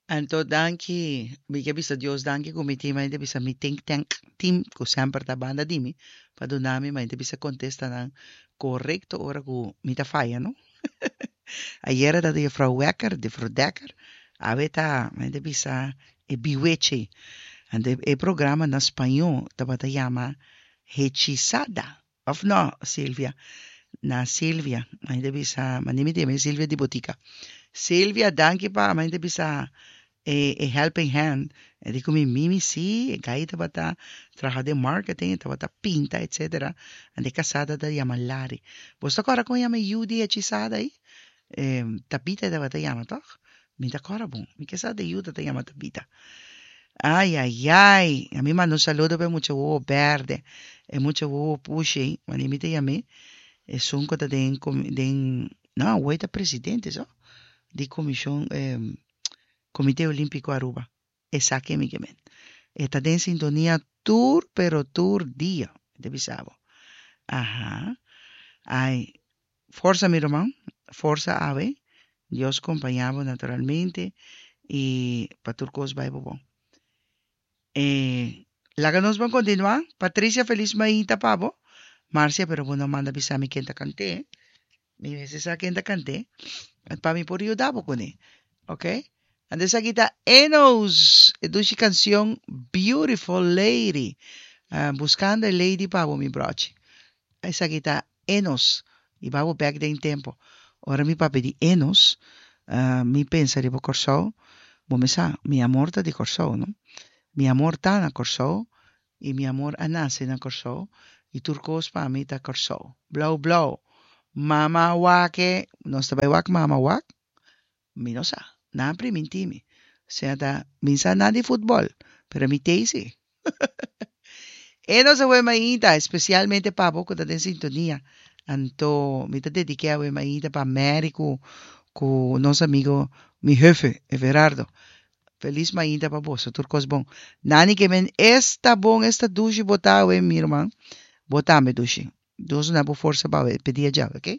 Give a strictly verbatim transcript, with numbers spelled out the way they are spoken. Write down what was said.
Anto danki, mi ke bisa Dios danki ku mi tin mainta bisa mi think tank team ku semper ta banda di mi pa duna mi mainta bisa kontestanan korekto ora ku mi ta faya, no? Ayera ta juffrouw Wekker, juffrouw Dekker, awe ta mainta bisa e biweche. Anto e programa na spañó tabata yama Hechizada. Of no, Silvia? Na Silvia, mainta bisa, mane mi ta yama Silvia di botica. Silvia, danki pa mainta bisa e, e helping hand. E di ku mi mimi si, e gai tabata traha den marketing, tabata pinta, etcétera. Anto e kasá ta yama Larry. Bo ta kòrda kon yama e yu di Hechizada ei? Eh, Tabita tabata yama, toch? Mi ta kòrda bon. Mi ke sa de yu ta yama Tabita. Ai, ai, ai. Ami manda un saludo pa e mucha wowo bèrdè. E mucha wowo pushi, wanneer mi ta yam'é. Esun ku ta den, den, no, awor ta presidente, so? Di komishon, eh, Komité Olímpiko Aruba. Esaki mi ke men. E ta den sintonia tur, pero tur dia. Ta bisa bo. Aha. Ai, forsa, mi ruman. Forsa awe. Dios kompañá bo naturalmente. I pa tur kos bai bon. Eh, laga nos ban kontinuá. Patricia, felis mainta pa bo. Marcia, pero bo no manda bisa mi ken ta kant'é. Mi mester sa ken ta kant'é. Pa mi por yuda bo kuné. Ok? Anto esaki ta Enos. E dushi kanshon Beautiful Lady. Uh, buskando e lady pa bo, mi brochi. Esaki ta Enos. I ban bèk den tempu. Ora mi papia di Enos, uh, mi pensa riba Kòrsou. Bo mi sa, mi amor ta di Kòrsou, no? Mi amor ta na Kòrsou i mi amor a nase na Kòrsou i tur kos pa mi ta Kòrsou. Blou blou. Mama wak e, nos ta bai wak mama wak? Mi no sa. Nan a primintí mi. Sea ta, mi sa nada di futbòl, pero mi t'ei si. Enos awe mainta, espesialmente pa bo ku ta den sintonia. Anto, mi ta dedik'é awe mainta pa Mary ku, ku nos amigo, mi jefe, Everardo. Felis mainta pa boso, tur kos bon. Nani ke men esta bon, esta dushi bo ta awe, mi ruman. Bo tambe dushi. Dios duna bo forsa pa e dia djawe, ok?